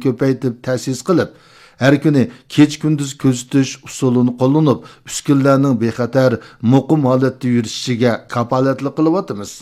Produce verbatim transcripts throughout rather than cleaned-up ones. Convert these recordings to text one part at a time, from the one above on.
كۆپەيتىپ تەسىس قىلىپ، ھەر كۈنى كېچە-كۈندۈز كۆزىتىش ئۇسۇلىنى قوللىنىپ، ئۈسكۈنىلەرنىڭ بىخەتەر، مۇقىم ھالەتتە يۈرۈشۈشىگە كاپالەتلىك قىلىۋاتىمىز.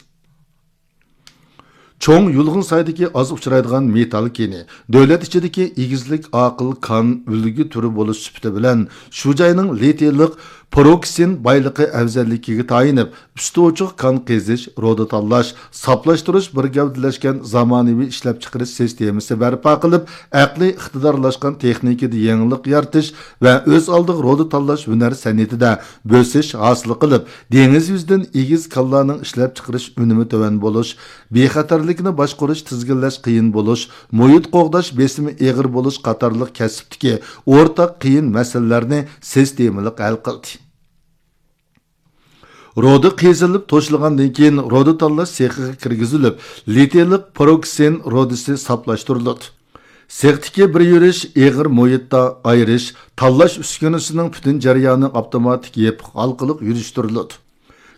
چوڭ يۇلغۇن سايدىكى ئاز ئۇچرايدىغان مېتال كېنى، دۆلەت ئىچىدىكى ئېگىزلىك ئاقىل كان ئۈلگە تۈرى بولۇش سۈپىتى بىلەن، شۇ جاينىڭ لىتىيلىق پروكسىن بايلىقى ئەۋزەللىكىگە تايىنىپ، ئۈستى ئوچۇق كان قېزىش، رۇدا تاللاش، ساپلاشتۇرۇش بىر گەۋدىلەشكەن زامانىۋى ئىشلەپچىقىرىش سىستېمىسى بەرپا قىلىپ، ئەقلىي ئىقتىدارلاشقان تېخنىكىدا يېڭىلىق يارىتىش ۋە ئۆز ئالدىغا رۇدا تاللاش ھۈنەر سەنئىتىدە بۆسۈش ھاسىل قىلىپ، دېڭىز يۈزىدىن ئېگىز كانلارنىڭ ئىشلەپچىقىرىش ئۈنۈمى تۆۋەن بولۇش، بىخەتەرلىكنى باشقۇرۇش، تىزگىنلەش قىيىن بولۇش، مۇھىت قوغداش بېسىمى ئېغىر بولۇش قاتارلىق كەسىپتىكى ئورتاق قىيىن مەسىلىلەرنى سىستېمىلىق ھەل قىلدى. رۇدا قېزىلىپ توشۇلغاندىن كېيىن، رۇدا تاللاش سېخىغا كىرگۈزۈلۈپ، لىتىيلىق پروكسىن رۇدىسى ساپلاشتۇرۇلىدۇ. سېختىكى بىر يۈرۈش ئېغىر مۇھىتتا ئايرىش، تاللاش ئۈسكۈنىسىنىڭ پۈتۈن جەريانى ئاپتوماتىك يېپىق ھالقىلىق يۈرۈشتۈرۈلىدۇ.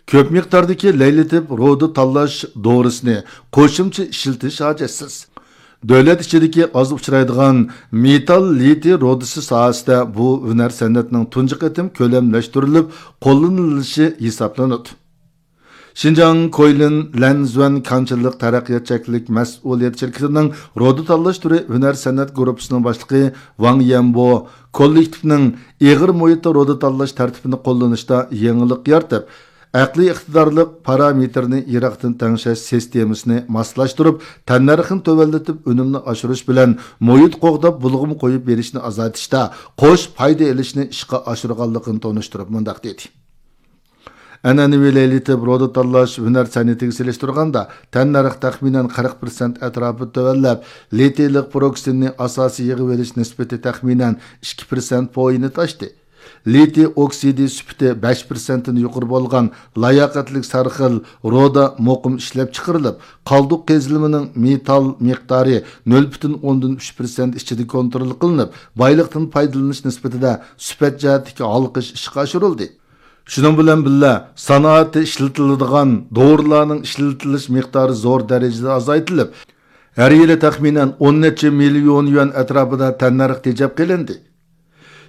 كۆپ مىقداردىكى لەيلىتىپ رۇدا تاللاش دورىسىنى قوشۇمچە ئىشلىتىش ھاجەتسىز. دۆلەت ئىچىدىكى ئاز ئۇچرايدىغان مېتال لىتىي رۇدىسى ساھەسىدە بۇ ھۈنەر سەنئەتنىڭ تۇنجى قېتىم كۆلەملەشتۈرۈلۈپ قوللىنىلىشى ھېسابلىنىدۇ. شىنجاڭ كويلىن لەنزۈەن كانچىلىق تەرەققىيات چەكلىك مەسئۇلىيەت شىركىتىنىڭ رۇدا تاللاش تۈرى ھۈنەر سەنئەت گۇرۇپپىسىنىڭ باشلىقى ۋاڭ يەنبو كوللېكتىپنىڭ ئېغىر مۇھىتتا رۇدا تاللاش تەرتىپىنى قوللىنىشتا يېڭىلىق يارىتىپ، ئەقلىي ئىقتىدارلىق پارامېتىرنى يىراقتىن تەڭشەش سىستېمىسىنى ماسلاشتۇرۇپ، تەننەرخنى تۆۋەنلىتىپ، ئۈنۈمنى ئاشۇرۇش بىلەن مۇھىت قوغداپ، بۇلغىما قويۇپ بېرىشنى ئازايتىشتا قوش پايدا ئېلىشنى ئىشقا ئاشۇرغانلىقىنى تونۇشتۇرۇپ مۇنداق دېدى. ئەنئەنىۋى لەيلىتىپ رۇدا تاللاش ھۈنەر سەنئىتىگە سېلىشتۇرغاندا، تەننەرخ تەخمىنەن قىرىق پىرسەنت ئەتراپىدا تۆۋەنلەپ، لىتىيلىق پروكسىننى ئاساسىي يىغىۋېلىش نىسبىتى تەخمىنەن ئىككى پىرسەنت پويىنى تاشتى. لىتىي ئوكسىدى سۈپىتى بەش پىرسەنتتىن يۇقىرى بولغان لاياقەتلىك سەرخىل رۇدا مۇقىم ئىشلەپچىقىرىلىپ، قالدۇق قېزىلمىنىڭ مېتال مىقدارى نۆل پۈتۈن ئوندىن ئۈچ پىرسەنت ئىچىدە كونترول قىلىنىپ، بايلىقتىن پايدىلىنىش نىسبىتىدە سۈپەت جەھەتتىكى ھالقىش ئىشقا ئاشۇرۇلدى. شۇنىڭ بىلەن بىللە، سانائەتتە ئىشلىتىلىدىغان دورىلارنىڭ ئىشلىتىلىش مىقدارى زور دەرىجىدە ئازايتىلىپ، ھەر يىلى تەخمىنەن ئون نەچچە مىليون يۈەن ئەتراپىدا تەننەرخ تېجەپ قېلىندى.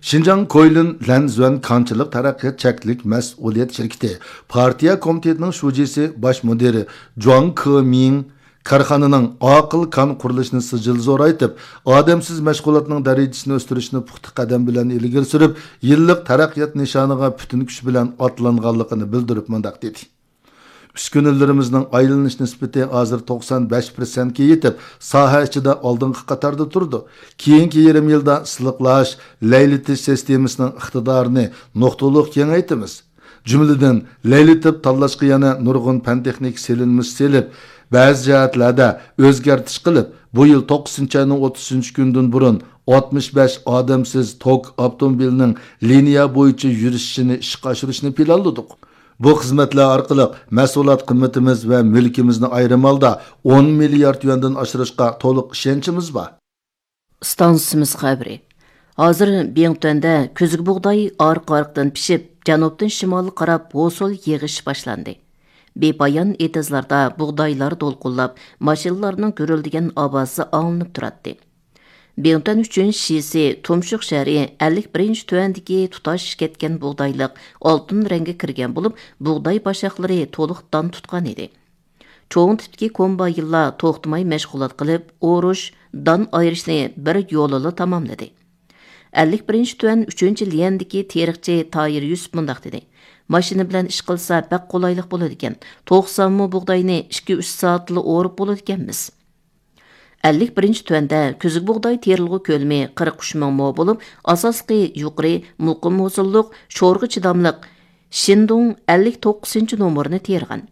شىنجاڭ كويلىن لەنزۈەن كانچىلىق تەرەققىيات چەكلىك مەسئۇلىيەت شىركىتى پارتىيە كومىتېتىنىڭ شۇجىسى باش مۇدىرى جۇاڭ كېمىڭ كارخانىنىڭ ئاقىل كان قۇرۇلۇشىنى سىجىل زورايتىپ، ئادەمسىز مەشغۇلاتنىڭ دەرىجىسىنى ئۆستۈرۈشنى پۇختا قەدەم بىلەن ئىلگىرى سۈرۈپ، يىللىق تەرەققىيات نىشانىغا پۈتۈن كۈچ بىلەن ئاتلانغانلىقىنى بىلدۈرۈپ مۇنداق دېدى. ئۈسكۈنىلىرىمىزنىڭ ئايلىنىش نىسبىتى ھازىر توقسان بەش پىرسەنتكە يېتىپ، ساھە ئىچىدە ئالدىنقى قاتاردا تۇرىدۇ. كېيىنكى يېرىم يىلدا سىلىقلاش، لەيلىتىش سىستېمىسىنىڭ ئىقتىدارىنى نۇقتىلىق كېڭەيتىمىز. جۈملىدىن، لەيلىتىپ تاللاشقا يەنە نۇرغۇن پەن-تېخنىكا سېلىنمىسى سېلىپ، بەزى جەھەتلەردە ئۆزگەرتىش قىلىپ، بۇ يىل توققۇزىنچى ئاينىڭ ئوتتۇزىنچى كۈنىدىن بۇرۇن ئاتمىش بەش ئادەمسىز توك ئاپتوموبىلىنىڭ لىنىيە بويىچە يۈرۈشۈشىنى ئىشقا ئاشۇرۇشنى پىلانلىدۇق. بۇ خىزمەتلەر ئارقىلىق مەھسۇلات قىممىتىمىز ۋە مۈلكىمىزنى ئايرىم ھالدا ئون مىليارد يۈەندىن ئاشۇرۇشقا تولۇق ئىشەنچىمىز بار. ئىستانسىمىز خەۋىرى. ھازىر بىڭتۈەندە كۈزگە بۇغداي ئارقا-ئارقىدىن پىشىپ، جەنۇبتىن شىمالغا قاراپ ھوسۇل يېغىش باشلاندى. بىپايان ئېتىزلاردا بۇغدايلار دولقۇنلاپ، ماشىنىلارنىڭ گۈرۈلدىگەن ئاۋازى ئاڭلىنىپ تۇراتتى. بىڭتۈەن ئۈچىنچى شىسى تۇمشۇق شەھىرى ئەللىك بىرىنچى تۈەندىكى تۇتاش كەتكەن بۇغدايلىق ئالتۇن رەڭگە كىرگەن بولۇپ، بۇغداي باشاقلىرى تولۇق دان تۇتقان ئىدى. چوڭ تىپتىكى كومباينلار توختىماي مەشغۇلات قىلىپ، ئورۇش، دان ئايرىشنى بىر يولىلا تاماملىدى. ئەللىك بىرىنچى تۈەن ئۈچىنچى ليەندىكى تېرىقچى تايىر يۈسۈپ مۇنداق دېدى: ماشىنا بىلەن ئىش قىلسا بەك قولايلىق بولىدىكەن، توقسان مو بۇغداينى ئىككى-ئۈچ سائەتتىلا ئورۇپ بولىدىكەنمىز. ئەللىك بىرىنچى تۈەندە كۈزگە بۇغداي تېرىلغۇ كۆلىمى قىرىق ئۈچ مىڭ مو بولۇپ، ئاساسلىقى يۇقىرى، مۇقىم ھوسۇللۇق، شورىغا چىداملىق شىندۇڭ ئەللىك توققۇزىنچى نومۇرنى تېرىغان.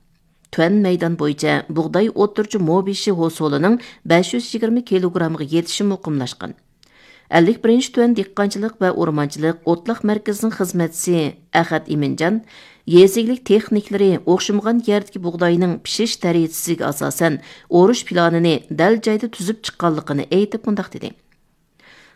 تۈەن مەيدان بويىچە بۇغداي ئوتتۇرىچە مو بېشى ھوسۇلىنىڭ بەش يۈز يىگىرمە كىلوگرامغا يېتىشى مۇقىملاشقان. ئەللىك بىرىنچى تۈەن دېھقانچىلىق ۋە ئورمانچىلىق ئوتلاق مەركىزىنىڭ خىزمەتچىسى ئەخەت ئىمىنجان يېزا ئىگىلىك تېخنىكلىرى ئوخشىمىغان يەردىكى بۇغداينىڭ پىشىش دەرىجىسىگە ئاساسەن ئورۇش پىلانىنى دەل جايدا تۈزۈپ چىققانلىقىنى ئېيتىپ مۇنداق دېدى: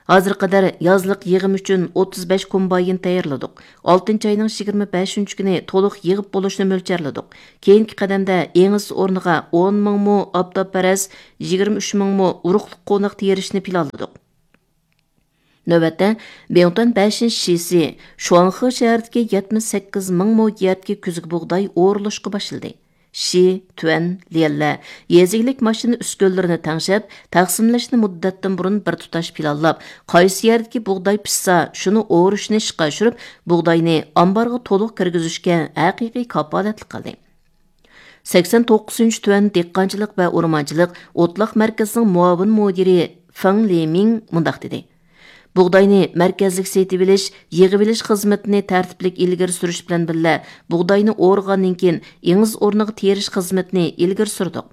ھازىرغا قەدەر يازلىق يىغىم ئۈچۈن ئوتتۇز بەش كومباين تەييارلىدۇق. ئالتىنچى ئاينىڭ يىگىرمە بەشىنچى كۈنى تولۇق يىغىپ بولۇشنى مۆلچەرلىدۇق. كېيىنكى قەدەمدە ئېڭىز ئورنىغا ئون مىڭ مو ئاپتاپپەرەس، يىگىرمە ئۈچ مىڭ مو ئۇرۇقلۇق قوناق تېرىشنى پىلانلىدۇق. نۆۋەتتە، بىڭتۈەن بەشىنچى شىسى، شۇاڭخې شەھىرىدىكى يەتمىش سەككىز مىڭ مو يەردىكى كۈزگە بۇغداي ئورۇلۇشقا باشلىدى. شى، تۈەن، ليەنلە يېزا ئىگىلىك ماشىنا ئۈسكۈنىلىرىنى تەڭشەپ، تەقسىملەشنى مۇددەتتىن بۇرۇن بىر تۇتاش پىلانلاپ، قايسى يەردىكى بۇغداي پىشسا، شۇنى ئورۇشنى ئىشقا ئاشۇرۇپ، بۇغداينى ئامبارغا تولۇق كىرگۈزۈشكە ھەقىقىي كاپالەتلىك قىلدى. سەكسەن توققۇزىنچى تۈەن دېھقانچىلىق ۋە ئورمانچىلىق ئوتلاق مەركىزىنىڭ مۇئاۋىن مۇدىرى فېڭ لېمىڭ مۇنداق دېدى: بۇغداينى مەركەزلىك سېتىۋېلىش، يىغىۋېلىش خىزمىتىنى تەرتىپلىك ئىلگىرى سۈرۈش بىلەن بىللە، بۇغداينى ئورىغاندىن كېيىن ئېڭىز ئورنىغا تېرىش خىزمىتىنى ئىلگىرى سۈردۇق.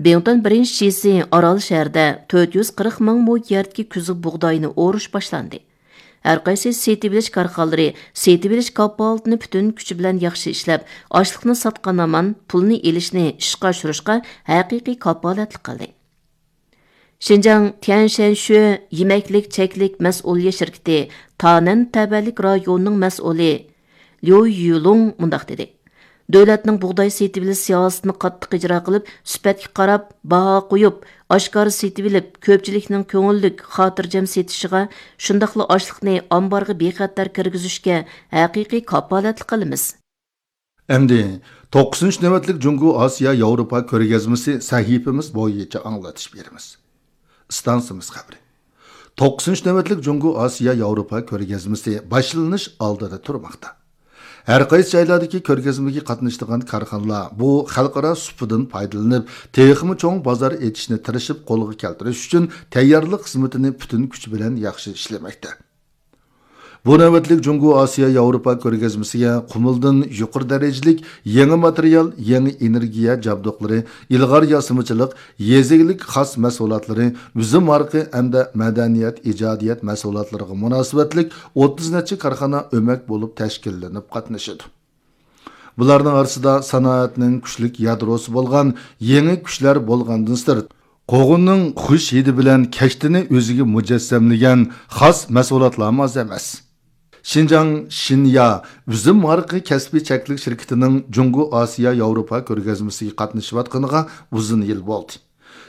بىڭتۈەن بىرىنچى شىسى ئارال شەھىرىدە تۆت يۈز قىرىق مىڭ مو يەردىكى كۈزگە بۇغداينى ئورۇش باشلاندى. ھەرقايسى سېتىۋېلىش كارخانىلىرى سېتىۋېلىش كاپالىتىنى پۈتۈن كۈچى بىلەن ياخشى ئىشلەپ، ئاشلىقنى ساتقان ھامان پۇلنى ئېلىشنى ئىشقا ئاشۇرۇشقا ھەقىقىي كاپالەتلىك قىلدى. شىنجاڭ تيەنشەنشۈ يېمەكلىك چەكلىك مەسئۇلىيەت شىركىتى تانەن تەۋەلىك رايونىنىڭ مەسئۇلى ليۇ يۈلۇڭ مۇنداق دېدى: دۆلەتنىڭ بۇغداي سېتىۋېلىش سىياسىتىنى قاتتىق ئىجرا قىلىپ، سۈپەتكە قاراپ، باھا قويۇپ، ئاشكارا سېتىۋېلىپ، كۆپچىلىكنىڭ كۆڭۈللۈك، خاتىرجەم سېتىشىغا، شۇنداقلا ئاشلىقنى ئامبارغا بىخەتەر كىرگۈزۈشكە ھەقىقىي كاپالەتلىك قىلىمىز. ئەمدى توققۇزىنچى نۆۋەتلىك جۇڭگو ئاسىيا ياۋروپا كۆرگەزمىسى سەھىپىمىز بويىچە ئاڭلىتىش بېرىمىز. ئىستانسىمىز خەۋىرى. توققۇزىنچى نۆۋەتلىك جۇڭگو ئاسىيا ياۋروپا كۆرگەزمىسى باشلىنىش ئالدىدا تۇرماقتا. ھەر قايسى جايلاردىكى كۆرگەزمىگە قاتنىشىدىغان كارخانىلار بۇ خەلقئارا سۇپىدىن پايدىلىنىپ، تېخىمۇ چوڭ بازار ئېچىشنى تىرىشىپ قولغا كەلتۈرۈش ئۈچۈن تەييارلىق خىزمىتىنى پۈتۈن كۈچى بىلەن ياخشى ئىشلىمەكتە. بۇ نۆۋەتلىك جۇڭگو ئاسىيا ياۋروپا كۆرگەزمىسىگە قۇمۇلدىن يۇقىرى دەرىجىلىك يېڭى ماتېرىيال، يېڭى ئېنېرگىيە جابدۇقلىرى، ئىلغار ياسىمىچىلىق، يېزا ئىگىلىك خاس مەھسۇلاتلىرى، ئۈزۈم ھارىقى ھەمدە مەدەنىيەت، ئىجادىيەت مەھسۇلاتلىرىغا مۇناسىۋەتلىك ئوتتۇز نەچچە كارخانا ئۆمەك بولۇپ تەشكىللىنىپ قاتنىشىدۇ. بۇلارنىڭ ئارىسىدا سانائەتنىڭ كۈچلۈك يادروسى بولغان يېڭى كۈچلەر بولغاندىن سىرت، قوغۇننىڭ خۇش ھىدى بىلەن كەشتىنى ئۆزىگە مۇجەسسەملىگەن خاس مەھسۇلاتلارمۇ ئاز ئەمەس. شىنجاڭ شىنيا ئۈزۈم ھارىقى كەسپىي چەكلىك شىركىتىنىڭ جۇڭگو ئاسىيا ياۋروپا كۆرگەزمىسىگە قاتنىشىۋاتقىنىغا ئۇزۇن يىل بولدى.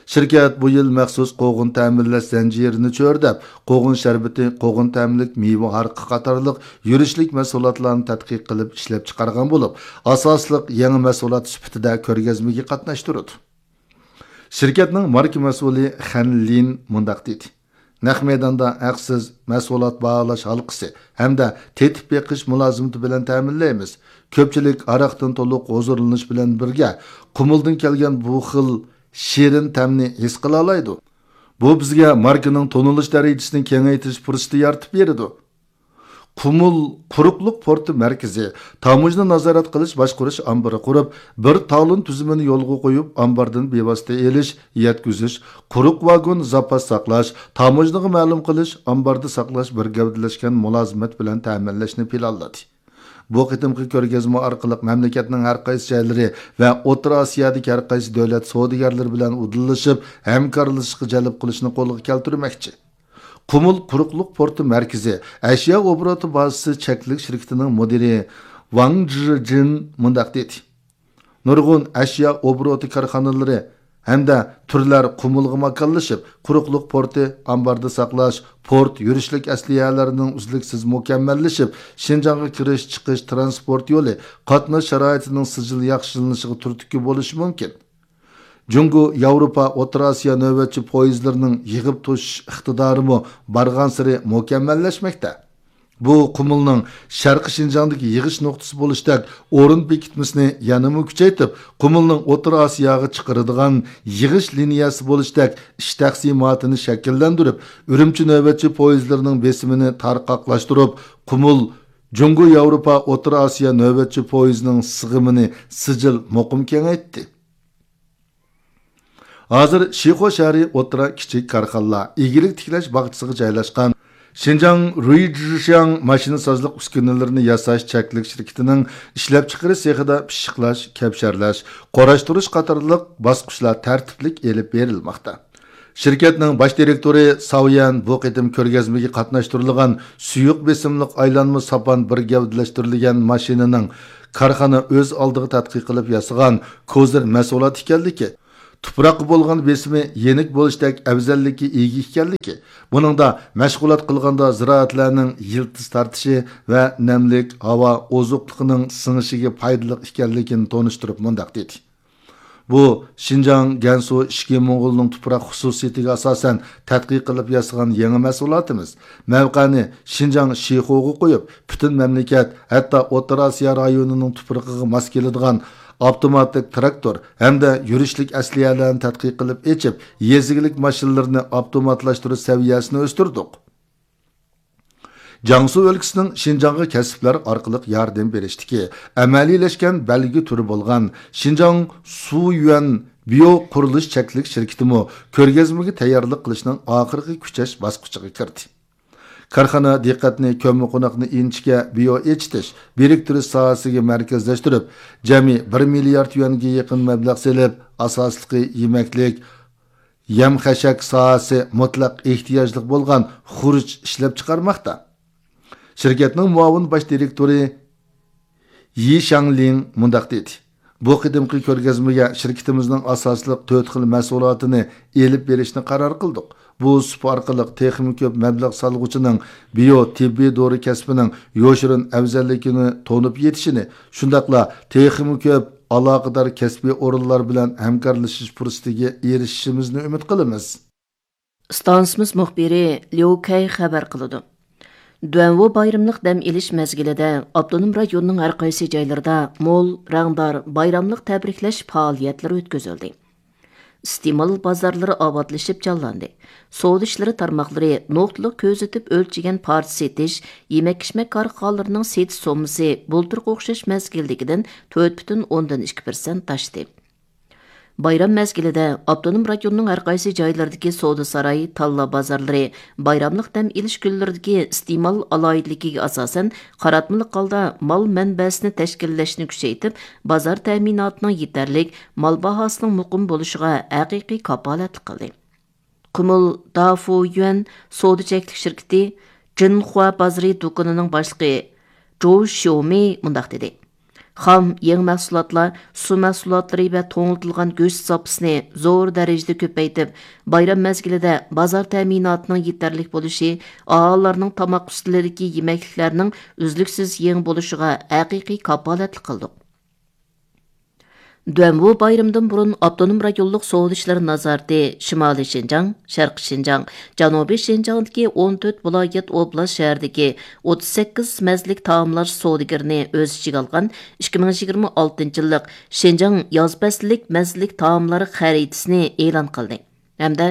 شىركەت بۇ يىل مەخسۇس قوغۇن تەمىنلەش زەنجىرىنى چۆرىدەپ، قوغۇن شەربىتى، قوغۇن تەملىك مېۋە ھارىقى قاتارلىق يۈرۈشلۈك مەھسۇلاتلارنى تەتقىق قىلىپ ئىشلەپچىقارغان بولۇپ، ئاساسلىق يېڭى مەھسۇلات سۈپىتىدە كۆرگەزمىگە قاتناشتۇرىدۇ. شىركەتنىڭ ماركا مەسئۇلى خەن لىن مۇنداق دېدى: نەق مەيداندا ھەقسىز مەھسۇلات باھالاش ھالقىسى ھەمدە تېتىپ بېقىش مۇلازىمىتى بىلەن تەمىنلەيمىز. كۆپچىلىك ھاراقتىن تولۇق ھۇزۇرلىنىش بىلەن بىرگە، قۇمۇلدىن كەلگەن بۇ خىل شېرىن تەمنى ھېس قىلالايدۇ. بۇ بىزگە ماركىنىڭ تونۇلۇش دەرىجىسىنى كېڭەيتىش پۇرسىتى يارىتىپ بېرىدۇ. قۇمۇل قۇرۇقلۇق پورتى مەركىزى، تاموژنا نازارەت قىلىش باشقۇرۇش ئامبىرى قۇرۇپ، بىر تالون تۈزۈمىنى يولغا قويۇپ، ئامباردىن بىۋاسىتە ئېلىش، يەتكۈزۈش، قۇرۇق ۋاگون زاپاس ساقلاش، تاموژنىغا مەلۇم قىلىش، ئامباردا ساقلاش بىر گەۋدىلەشكەن مۇلازىمەت بىلەن تەمىنلەشنى پىلانلىدى. بۇ قېتىمقى كۆرگەزمە ئارقىلىق مەملىكەتنىڭ ھەر قايسى جايلىرى ۋە ئوتتۇرا ئاسىيادىكى ھەر قايسى دۆلەت سودىگەرلىرى بىلەن ئۇدۇللىشىپ، ھەمكارلىشىشقا جەلپ قىلىشنى قولغا كەلتۈرمەكچى. قۇمۇل قۇرۇقلۇق پورتى مەركىزى ئەشيا ئوبوروتى بازىسى چەكلىك شىركىتىنىڭ مۇدىرى ۋاڭ جىجىن مۇنداق دېدى: نۇرغۇن ئەشيا ئوبوروتى كارخانىلىرى ھەمدە تۈرلەر قۇمۇلغا ماكانلىشىپ، قۇرۇقلۇق پورتى، ئامباردا ساقلاش، پورت يۈرۈشلۈك ئەسلىھەلەرنىڭ ئۈزلۈكسىز مۇكەممەللىشىپ، شىنجاڭغا كىرىش، چىقىش، ترانسپورت يولى، قاتناش شارائىتىنىڭ سىجىل ياخشىلىنىشىغا تۈرتكە بولۇشى مۇمكىن. جۇڭگو ياۋروپا ئوتتۇرا ئاسىيا نۆۋەتچى پويىزلىرىنىڭ يىغىپ توشۇش ئىقتىدارىمۇ بارغانسېرى مۇكەممەللەشمەكتە. بۇ قۇمۇلنىڭ شەرقىي شىنجاڭدىكى يىغىش نۇقتىسى بولۇشتەك ئورۇن بېكىتمىسىنى يەنىمۇ كۈچەيتىپ، قۇمۇلنىڭ ئوتتۇرا ئاسىياغا چىقىرىدىغان يىغىش لىنىيەسى بولۇشتەك ئىش تەقسىماتىنى شەكىللەندۈرۈپ، ئۈرۈمچى نۆۋەتچى پويىزلىرىنىڭ بېسىمىنى تارقاقلاشتۇرۇپ، قۇمۇل جۇڭگو ياۋروپا ئوتتۇرا ئاسىيا نۆۋەتچى پويىزىنىڭ سىغىمىنى سىجىل مۇقىم كېڭەيتتى. ھازىر شىخۇ شەھىرى ئوتتۇرا، كىچىك كارخانىلار، ئىگىلىك تىكلەش باغچىسىغا جايلاشقان شىنجاڭ رۇيجىشياڭ ماشىنىسازلىق ئۈسكۈنىلىرىنى ياساش چەكلىك شىركىتىنىڭ ئىشلەپچىقىرىش سېخىدا پىششىقلاش، كەپشەرلەش، قۇراشتۇرۇش قاتارلىق باسقۇچلار تەرتىپلىك ئېلىپ بېرىلماقتا. شىركەتنىڭ باش دىرېكتورى ساۋيەن بۇ قېتىم كۆرگەزمىگە قاتناشتۇرۇلغان سۇيۇق بېسىملىق ئايلانما ساپان بىر گەۋدىلەشتۈرۈلگەن ماشىنىنىڭ كارخانا ئۆز ئالدىغا تەتقىق قىلىپ ياسىغان كوزىر مەھسۇلاتى ئىكەنلىكى، تۇپراققا بولغان بېسىمى يېنىك بولۇشتەك ئەۋزەللىككە ئىگە ئىكەنلىكى، بۇنىڭدا مەشغۇلات قىلغاندا زىرائەتلەرنىڭ يىلتىز تارتىشى ۋە نەملىك ھاۋا ئوزۇقلۇقىنىڭ سىڭىشىگە پايدىلىق ئىكەنلىكىنى تونۇشتۇرۇپ مۇنداق دېدى. بۇ شىنجاڭ، گەنسۇ، ئىچكى موڭغۇلنىڭ تۇپراق خۇسۇسىيىتىگە ئاساسەن تەتقىق قىلىپ ياسىغان يېڭى مەھسۇلاتىمىز. مەۋقەنى شىنجاڭ شىخۇغا قويۇپ، پۈتۈن مەملىكەت، ھەتتا ئوتتۇرا ئاسىيا رايونىنىڭ تۇپرىقىغا ماس كېلىدىغان ئاپتوماتىك تىراكتور ھەمدە يۈرۈشلۈك ئەسلىھەلەرنى تەتقىق قىلىپ ئېچىپ، يېزا ئىگىلىك ماشىنىلىرىنى ئاپتوماتلاشتۇرۇش سەۋىيەسىنى ئۆستۈردۇق. جياڭسۇ ئۆلكىسىنىڭ شىنجاڭغا كەسىپلەر ئارقىلىق ياردەم بېرىشتىكى ئەمەلىيلەشكەن بەلگە تۈرى بولغان شىنجاڭ سۇيۈەن بىيو قۇرۇلۇش چەكلىك شىركىتىمۇ كۆرگەزمىگە تەييارلىق قىلىشنىڭ ئاخىرقى كۈچەش باسقۇچىغا كىردى. كارخانا دىققەتنى كۆممىقوناقنى ئىنچىكە بىيو ئېچىتىش، بىرىكتۈرۈش ساھەسىگە مەركەزلەشتۈرۈپ، جەمئىي بىر مىليارد يۈەنگە يېقىن مەبلەغ سېلىپ، ئاساسلىقى يېمەكلىك، يەم-خەشەك ساھەسى مۇتلەق ئېھتىياجلىق بولغان خۇرۇچ ئىشلەپچىقارماقتا. شىركەتنىڭ مۇئاۋىن باش دىرېكتورى يى شاڭلىڭ مۇنداق دېدى: بۇ قېتىمقى كۆرگەزمىگە شىركىتىمىزنىڭ ئاساسلىق تۆت خىل مەھسۇلاتىنى ئېلىپ بېرىشنى قارار قىلدۇق. بۇ سۇپا ئارقىلىق تېخىمۇ كۆپ مەبلەغ سالغۇچىنىڭ بىيو تېببىي دورا كەسپىنىڭ يوشۇرۇن ئەۋزەللىكىنى تونۇپ يېتىشىنى، شۇنداقلا تېخىمۇ كۆپ ئالاقىدار كەسپىي ئورۇنلار بىلەن ھەمكارلىشىش پۇرسىتىگە ئېرىشىشىمىزنى ئۈمىد قىلىمىز. ئىستانسىمىز مۇخبىرى ليۇ كەي خەۋەر قىلىدۇ. دۇەنۋۇ بايرىملىق دەم ئېلىش مەزگىلىدە ئاپتونوم رايوننىڭ ھەر قايسى جايلىرىدا مول، رەڭدار بايراملىق تەبرىكلەش پائالىيەتلىرى ئۆتكۈزۈلدى. ئىستېمال بازارلىرى ئاۋاتلىشىپ جانلاندى. سودا ئىشلىرى تارماقلىرى نۇقتىلىق كۆزىتىپ ئۆلچىگەن پارچە سېتىش، يېمەك-ئىچمەك كارخانىلىرىنىڭ سېتىش سوممىسى بۇلتۇرقى ئوخشاش مەزگىلدىكىدىن تۆت پۈتۈن ئوندىن ئىككى پىرسەنت ئاشتى. بايرام مەزگىلىدە ئاپتونوم رايوننىڭ ھەر قايسى جايلىرىدىكى سودا ساراي، تاللا بازارلىرى بايراملىق دەم ئېلىش كۈنلىرىدىكى ئىستېمال ئالاھىدىلىكىگە ئاساسەن، قاراتمىلىق ھالدا مال مەنبەسىنى تەشكىللەشنى كۈچەيتىپ، بازار تەمىناتىنىڭ يېتەرلىك، مال باھاسىنىڭ مۇقىم بولۇشىغا ھەقىقىي كاپالەتلىك قىلدى. قۇمۇل دافۇيۈەن سودا چەكلىك شىركىتى جىنخۇا بازىرى دۇكىنىنىڭ باشلىقى جوۋ شيومى مۇنداق دېدى: خام، يېڭى مەھسۇلاتلار، سۇ مەھسۇلاتلىرى ۋە توڭلىتىلغان گۆش زاپىسىنى زور دەرىجىدە كۆپەيتىپ، بايرام مەزگىلىدە بازار تەمىناتىنىڭ يېتەرلىك بولۇشى، ئاھالىلەرنىڭ تاماق ئۈستىلىدىكى يېمەكلىكلەرنىڭ ئۈزلۈكسىز يېڭى بولۇشىغا ھەقىقىي كاپالەتلىك قىلدۇق. دۇەنۋۇ بايرىمىدىن بۇرۇن ئاپتونوم رايونلۇق سودا ئىشلىرى نازارىتى شىمالىي شىنجاڭ، شەرقىي شىنجاڭ، جەنۇبىي شىنجاڭدىكى ئون تۆت ۋىلايەت، ئوبلاست، شەھەردىكى ئوتتۇز سەككىز مەززىلىك تائاملار سودىگىرىنى ئۆز ئىچىگە ئالغان ئىككى مىڭ يىگىرمە ئالتىنچى يىللىق شىنجاڭ ياز پەسلىك مەززىلىك تائاملار خەرىتىسىنى ئېلان قىلدى ھەمدە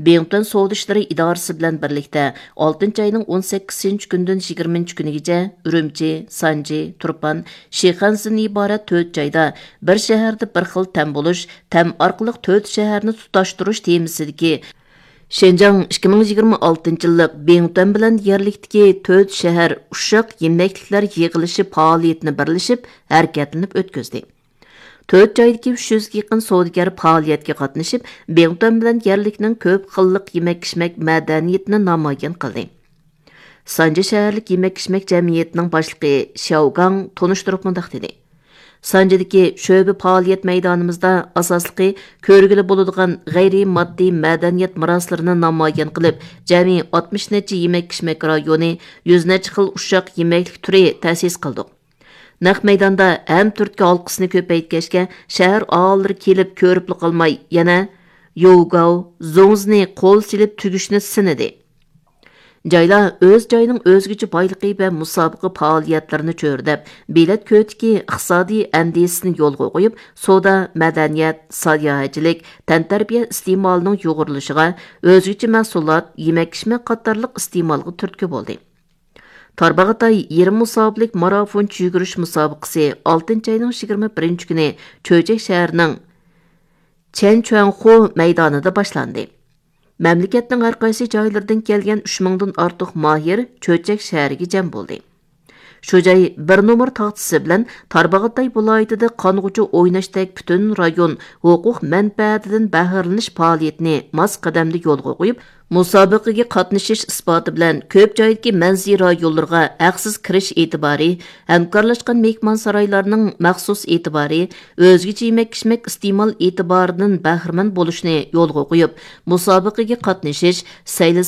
بىڭتۈەن سودا ئىشلىرى ئىدارىسى بىلەن بىرلىكتە ئالتىنچى ئاينىڭ ئون سەككىزىنچى كۈنىدىن يىگىرمىنچى كۈنىگىچە ئۈرۈمچى، سانجى، تۇرپان، شىخەنزىدىن ئىبارەت تۆت جايدا بىر شەھەردە بىر خىل تەم بولۇش، تەم ئارقىلىق تۆت شەھەرنى تۇتاشتۇرۇش تېمىسىدىكى شىنجاڭ ئىككى مىڭ يىگىرمە ئالتىنچى يىللىق بىڭتۈەن بىلەن يەرلىكتىكى تۆت شەھەر ئۇششاق يېمەكلىكلەر يىغىلىشى پائالىيىتىنى بىرلىشىپ ھەرىكەتلىنىپ ئۆتكۈزدى. تۆت جايدىكى ئۈچ يۈزگە يېقىن سودىگەر پائالىيەتكە قاتنىشىپ، بىڭتۈەن بىلەن يەرلىكنىڭ كۆپ خىللىق يېمەك-ئىچمەك مەدەنىيىتىنى نامايان قىلدى. سانجى شەھەرلىك يېمەك-ئىچمەك جەمئىيىتىنىڭ باشلىقى شياۋ گاڭ تونۇشتۇرۇپ مۇنداق دېدى: سانجىدىكى شۆبە پائالىيەت مەيدانىمىزدا ئاساسلىقى كۆرگىلى بولىدىغان غەيرىي ماددىي مەدەنىيەت مىراسلىرىنى نامايان قىلىپ، جەمئىي ئاتمىش نەچچە يېمەك-ئىچمەك رايونى، يۈز نەچچە خىل ئۇششاق يېمەكلىك تۈرى تەسىس قىلدۇق. نەق مەيداندا ھەم تۈرتكە ھالقىسىنى كۆپەيتكەچكە، شەھەر ئاھالىلىرى كېلىپ كۆرۈپلا قالماي، يەنە يوۋگاۋ، زوڭزىنى قول سېلىپ تۈگۈشنى سىنىدى. جايلار ئۆز جايىنىڭ ئۆزگىچە بايلىقى ۋە مۇسابىقە پائالىيەتلىرىنى چۆرىدەپ، بېلەت كۆۋرۈكى ئىقتىسادىي ئەندىزىسىنى يولغا قويۇپ، سودا، مەدەنىيەت، ساياھەتچىلىك، تەنتەربىيە ئىستېمالىنىڭ يۇغۇرۇلۇشىغا، ئۆزگىچە مەھسۇلات، يېمەك-ئىچمەك قاتارلىق ئىستېمالغا تۈرتكە بولدى. تارباغاتاي يېرىم مۇساپىلىك مارافونچە يۈگۈرۈش مۇسابىقىسى ئالتىنچى ئاينىڭ يىگىرمە بىرىنچى كۈنى چۆچەك شەھىرىنىڭ چەنچۈەنخۇ مەيدانىدا باشلاندى. مەملىكەتنىڭ ھەر قايسى جايلىرىدىن كەلگەن ئۈچ مىڭدىن ئارتۇق ماھىر چۆچەك شەھىرىگە جەم بولدى. شۇ جاي بىر نومۇر تاختىسى بىلەن تارباغاتاي ۋىلايىتىدە قانغۇچە ئويناشتەك پۈتۈن رايون ھوقۇق مەنپەئەتىدىن بەھرىلىنىش پائالىيىتىنى ماس قەدەمدە يولغا قويۇپ، مۇسابىقىگە قاتنىشىش ئىسپاتى بىلەن كۆپ جايدىكى مەنزىرە رايونلىرىغا ھەقسىز كىرىش ئېتىبارى، ھەمكارلاشقان مېھمانسارايلارنىڭ مەخسۇس ئېتىبارى، ئۆزگىچە يېمەك-ئىچمەك ئىستېمال ئېتىبارىدىن بەھرىمەن بولۇشنى يولغا قويۇپ، مۇسابىقىگە قاتنىشىش، سەيلە